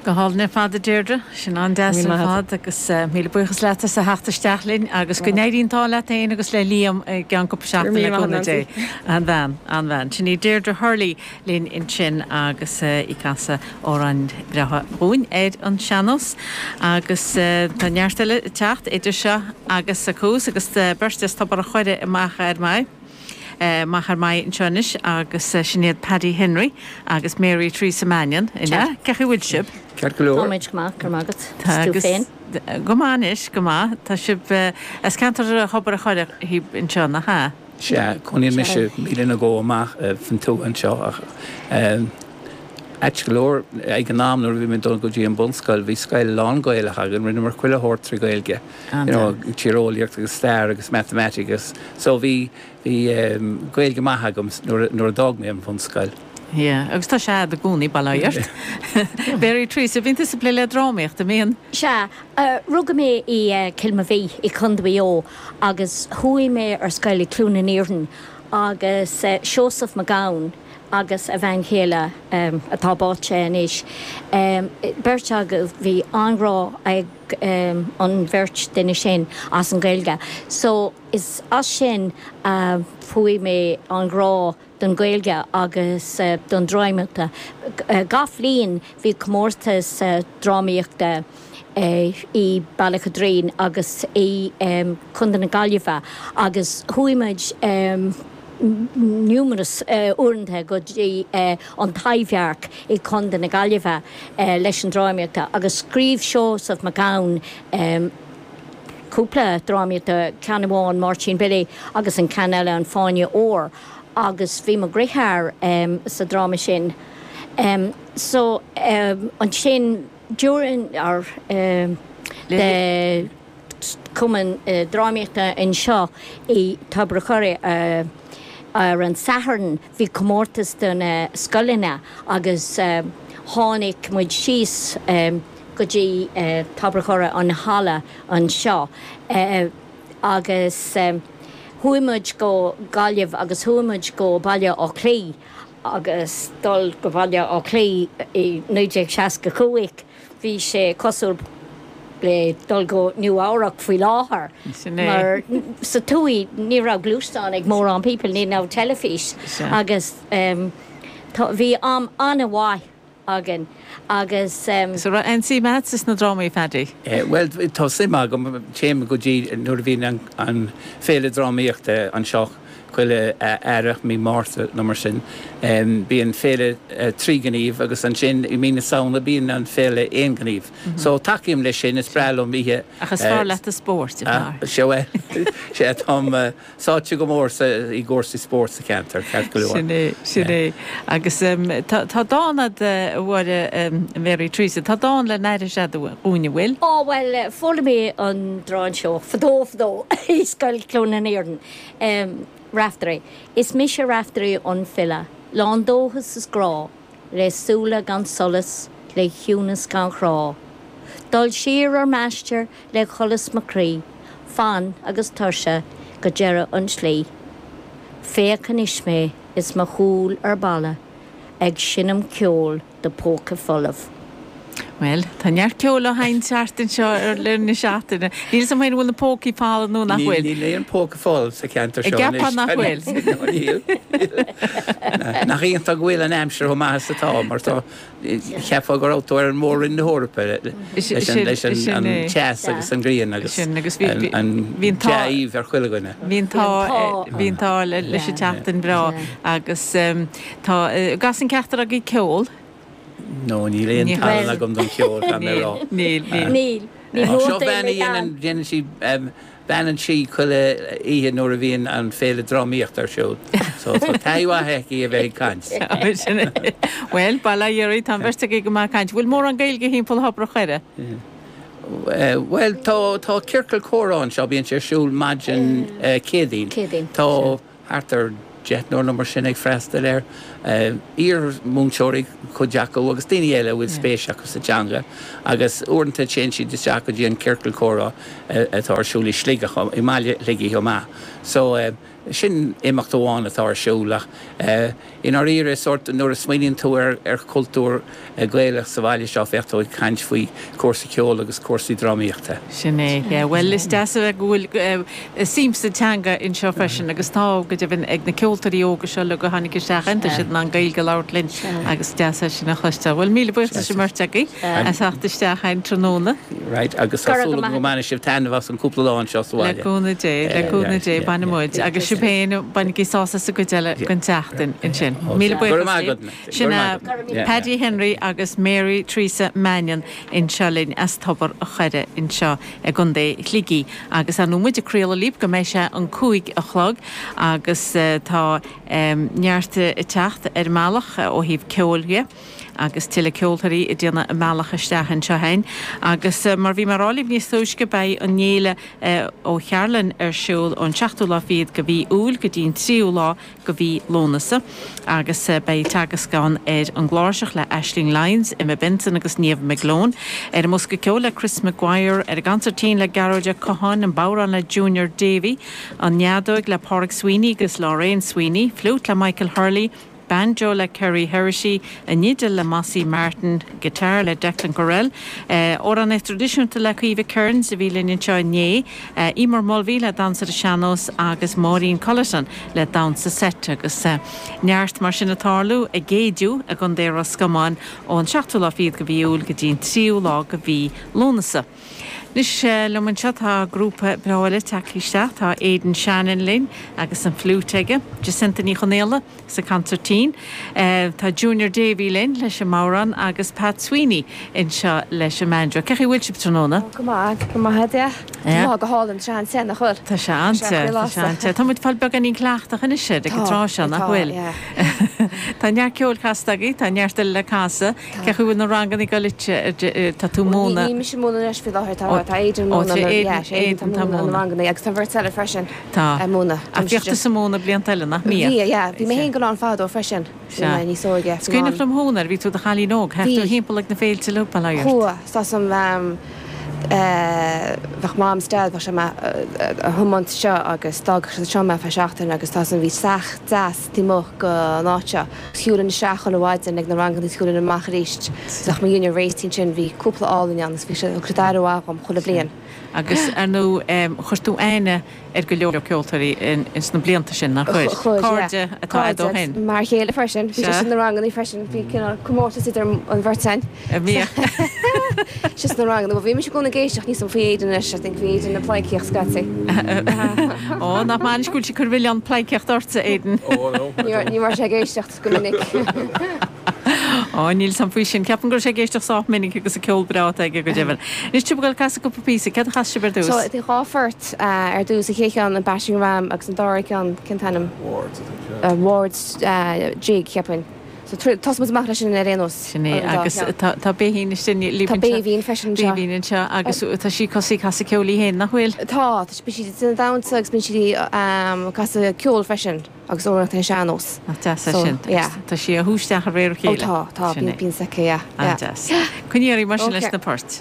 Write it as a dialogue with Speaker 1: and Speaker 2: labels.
Speaker 1: Go hálainn ar fad, a Deirdre. Sin an-deas ar fad agus míle buíochas leat as a theacht isteach linn agus go n-éirí an t-ádh leat féin agus le Liam i gceann cúpla seachtain le cúnamh Dé. An-bhean, an-bhean. Sin í Deirdre Hurley linn ansin agus í ag casadh amhráin bhreátha dhúinn ar an sean-nós. Agus tá neart eile ag teacht idir seo agus thuas agus beirt as Tobar a' Choire i Machaire Fhear Machaire Fear Maí anseo anois agus sin iad Paddy Henry agus Mary Theresa Mannion. An ea? Cén chaoi a bhfuil sibh?
Speaker 2: Ceart go leor.
Speaker 3: Táimid go maith, go raibh maith agat. Is tú féin?
Speaker 1: Go maith anois, go maith. Tá sibh as ceantar Thobar a' Choire thíos anseo, nach ea?
Speaker 2: Sea, cónaíonn mise míle nó dhó amach faoin tuath anseo ach ait go leor, ag an am nuair a bhí mé ag dul go dtí an bunscoil, bhí scoil lán-Ghaelach againn, rinneamar chuile shórt trí Ghaeilge, you know, tíreolaíocht agus stair agus matamaitic agus so bhí, bhí Gaeilge maith agam nuair, nuair a d'fhág mé an bhunscoil.
Speaker 1: Yeah, agus tá sé a'd i gcónaí, bail ó Dhia ort. Mary Theresa, bíonn tusa ag plé le drámaíocht, an mbíonn?
Speaker 3: Sea, rugadh mé i Cill Mobhí i Contae Mhaigh Eo agus chuaigh mé ar scoil i Cluain an Iarainn agus Seosamh Mac Gabhann agus a bhean chéile atá báite anois, beirt acu, bhí an-ghrá ag an bheirt duine sin as an Ghaeilge. So is as sin a fuair mé an grá don Ghaeilge agus don drámaíocht. Gach bhliain bhí comórtas drámaíochta i Bealach an Doirín agus i Contae na Gaillimhe agus chuaigh muid numerous uaireanta go dtí an Taibhdhearc i Contae na Gaillimhe leis an drámaíochta agus scríobh Seosamh Mac Gabhann cúpla drámaíochta, ceann amháin Máirtín Billy agus an ceann eile An Fáinne Óir agus bhí mo dheartháir sa dráma sin. So ansin during our the cumann drámaíochta anseo i Tobar a' Choire ar an Satharn bhí comórtas do na scoileanna agus tháinig muid síos go dtí Tobar a' Choire an halla anseo agus chuaigh muid go Gaillimh agus chuaigh muid go Baile Átha Cliath agus dul go Baile Átha Cliath i 1965 bhí sé cosúil le dul go Nua Eabhrac faoi láthair mar sa tuaith ní raibh gluaisteán ag mórán people, ní raibh teilifís agus bhí am an-mhaith againn agus.
Speaker 1: So raibh aon suim agatsa sna drámaí, Phaddy?
Speaker 2: Bhuel, tá suim agam, téim go dtí nuair a bhíonn an féile drámaíochta anseo chuile earrach, mí Márta nó mar sin, bíonn féile tríghnímh agus ansin i mí na Samhna bíonn an féile aonghnímh. So tacaím leis sin, is breá liom oíche.
Speaker 1: Ach is fearr leat an spórt, a
Speaker 2: fear. Sea, bhuel, sea, táim sáite go mór sa, i gcúrsaí spóirt sa cheantar, ceart go leor.
Speaker 1: Sin é, sin é. Agus tá, tá dán a'd, a Mháire, Mary Teresa, tá dán le n-aithris a'd dhúinn, an bhfuil?
Speaker 3: Á, bhuel, foghlaim mé an dán seo fadó fadó i Scoil Chluain an Iarainn. Raiftearaí. Is mise Raiftearaí an file, lán dóchas is grá, Le súile gan solas, le ciúnas gan chrá. Dul siar ar m'aistear le sholas mo chroí, Fann agus tuirse go deireadh an tslí. Féach anois mé is mo chúl ar balla Ag seinm ceoil do phóca folamh.
Speaker 1: Bhuel, tá neart ceoil á sheinnt thart anseo ar le linn na seachtaine. Níl 'fhios a'm féin an bhfuil na pócaí folamh nó nach bhfuil.
Speaker 2: Níl aon póca folamh sa cheantar seo
Speaker 1: anois. An gceapfá nach bhfuil?
Speaker 2: Níl. Nach iontach go bhfuil an aimsir chomh maith is atá mar tá, cheapfá go raibh tú ar an mór-roinn na hEorpa leis an teas agus an ghrian agus an dea-aoibh ar chuile dhuine.
Speaker 1: Bhí an t-ádh, bhí an t-ádh leis an tseachtain bhreá agus tá, an gcasann ceachtar agaibh ceol?
Speaker 2: No, níl aon tallann agam don cheol, caithfidh mé a rá.
Speaker 1: Níl, níl.
Speaker 3: Níl. Ní
Speaker 2: Seo bean a dhéanann, déanann sí, beanann sí chuile oíche nuair a bhíonn an féile drámaíochta ar siúl. So tá taithí mhaith aici a bheith ag caint.
Speaker 1: Sin é. Bhuel, bail ó Dhia oraibh, tá an bheirt agaibh go maith ag caint. Bhfuil mórán Gaeilge thimpeall Thobar a' Choire?
Speaker 2: Bhuel, tá, tá ciorcal comhrá anseo, bíonn sé ar siúl maidin Céadaoin.
Speaker 3: Céadaoin.
Speaker 2: Tá. thart ar deichniúr nó mar sin ag freastal air, iar-mhúinteoirí cuid acu agus daoine eile a bhfuil spéis acu sa teanga agus uaireanta téann siad isteach go dtí an ciorcal comhrá atá ar siúl i Sligeach, i mbaile Shligigh chomh maith. So. Sin imeacht amháin atá ar siúl ach i ndáiríre, sórt, nuair a smaoiníonn tú ar chultúr Gaelach sa bhaile seo, bheadh tú ag caint faoi chúrsaí ceoil agus cúrsaí drámaíochta.
Speaker 1: Sin é, yeah. Bhuel, is deas a bheith go bhfuil suim sa teanga anseo freisin agus tá, go deimhin, ag na ceoltóirí óga seo uilig a tháinig isteach againn, tá siad in ann Gaeilge a labhairt linn agus is deas é sin a chloisteáil. Bhuel, míle buíochas leis an mbeirt agaibh as theacht isteach againn tráthnóna.
Speaker 2: Right, agus tá súil agam go mbainfidh sibh taitneamh as an cúpla lá anseo sa
Speaker 1: bhaile. Le cúnamh Dé, le cúnamh Dé, bainfidh muid. Agus sibh féin, bainigí sásamh as an gcuid eile den tseachtain ansin. Míle buíochas libh. Sin é Paddy Henry agus Mary Teresa Mannion anseo linn as Tobar a' Choire anseo i gContae Shligigh. Agus ar ndóigh muid ag craoladh libh go mbeidh sé an 5 a chlog agus tá neart ag teacht ar an mbealach ó thaobh ceoil dhe. agus tuilleadh ceoltóirí ag déanamh a mbealach isteach anseo againn. Agus mar bhí mé a rá libh níos túisce, beidh an fhéile ó Chearlann ar siúl ón seachtú lá fichead de mhí Iúil go dtí an tríú lá de mhí Lúnasa. Agus beidh teagasc ann ar an gcláirseach le Aisling Lyons, Emma Benson agus Niamh McGlone, ar an mbosca ceoil le Chris Maguire, ar an gconsairtín le Gearóid Ó Catháin, an bodhrán le Junior Davey, an fheadóig le Pádraig Sweeney agus Lorraine Sweeney, fliúit le Michael Hurley, Banjo le Kerry Heraty, an fhidil le Mossie Martin, guitar le Declan Courell, amhránaíocht traidisiúnta le Caoimhe Kearns a bhí linn anseo inné, Emer Mulvey le damhsa ar an sean-nós agus Máirín Culleton le damhsa seit agus neart mar sin ag tarlú i gCéidiú i gContae Ros Comáin ón seachtú lá fichead de mhí Iúil go dtí an tríú lá de mhí Lúnasa. Anois liom anseo tá grúpa breá eile tagtha isteach, tá Aidan Shannon linn agus an fliúit aige, Jacinta Ní Chonaola, sa consairtín. Tá Junior Davey linn leis an mbodhrán agus Pat Sweeney anseo leis an mbanjo. Cén chaoi a bhfuil sibh tráthnóna?
Speaker 4: Go maith, go maith, yeah. Tá lá go hálainn, tá sé an-te, nach bhfuil?
Speaker 1: Tá sé an-te, tá sé an-te. Tá muid ag fáil beagáinín cleachtach anois air ag an tráth seo, nach bhfuil? Tá neart ceoil casta agaibh, tá neart eile le casadh. Cén chaoi a bhfuil na ranganna ag dul duit? Tá tú ag múineadh?
Speaker 4: Níl mise ag múineadh anois faoi láthair, tá Aidan ag múineadh, Aidan tá múineadh na ranganna agus tá an bheirt eile freisin.
Speaker 1: Tá. Ag múineadh. Ach bhíodh tusa ag múineadh blianta eile, nach mbíodh?
Speaker 4: Bhí, yeah. Bhí mé féin ag dul ann fadó freisin. Bhí mé níos óige.
Speaker 1: Is cuimhneach liom thú nuair a bhí tú i do chailín óg. Théadh tú thimpeall ag na féilte le bail ó Dhia ort.
Speaker 4: Chuaigh. Tá 's a'm, bheadh Mam 's Dad, bheadh sé mé a thiomáint seo agus d'fhágfadh siad anseo mé feadh seachtain agus tá 's a'm bhí teach deas taobh amuigh den áit seo. Shiúlainn isteach chuile mhaidin ag na ranganna agus shiúlainn amach arís. Bheadh mo dhinnéar réitithe ansin, bhí cúpla álainn ann agus bhí sé, thug siad aire mhaith dhom chuile bhliain.
Speaker 1: Agus, ar ndóigh, chuir tú aithne ar go leor ceoltóirí ins na blianta sin, nár chuir?
Speaker 4: Chuir, yeah.
Speaker 1: Cairde atá a'd ó shin.
Speaker 4: Cairde, m'fhear chéile freisin. Bhí sé sna ranganna freisin. Bhí cineál comórtas idir an bheirt againn.
Speaker 1: A bhíodh.
Speaker 4: Sé sna ranganna. Bhuel, bhí mise i gcónaí ag éisteacht níos mó faoi Aidan anois. I think bhí Aidan ag pleidhcíocht scaití.
Speaker 1: Ó, nach maith anois go bhfuil sé ag cur milleán pleidhcíocht ortsa, Aidan.
Speaker 5: Ó, no.
Speaker 4: Ní raibh sé ag éisteacht go minic.
Speaker 1: Ó, níl 's a'm faoi sin. Ceapaim go raibh sé ag éisteacht sách minic agus an ceol breá atá aige go deimhin. Anois, tá sibh ag dul ag casadh cúpla píosa. Céard a chas sibh ar dtús?
Speaker 4: So, bhí dhá phort ar dtús. An chéad cheann, an Battering Ram agus an dara ceann, cén t-ainm?
Speaker 5: Ward's, I think, yeah.
Speaker 4: Ward's Jig, cheapfainn. So, tosóidh muid amach leis sin ar aon nós.
Speaker 1: Sin é. Agus tá Béibhinn istigh libh
Speaker 4: anseo. Tá Béibhinn freisin anseo.
Speaker 1: Béibhinn anseo agus tá sí tosaithe ag casadh ceoil í féin, nach bhfuil?
Speaker 4: Tá. Bíonn sí ag déanamh damhsa agus bíonn sí ag casadh ceoil freisin. Agus amhránaíocht ar an sean-nós.
Speaker 1: Nach deas é sin.
Speaker 4: So, yeah.
Speaker 1: Tá sí á shú isteach de réir a chéile.
Speaker 4: Ó tá, tá, bíonn, bíonn s'aici, yeah, yeah.
Speaker 1: An-deas. Coinnigh oraibh mar sin leis na poirt.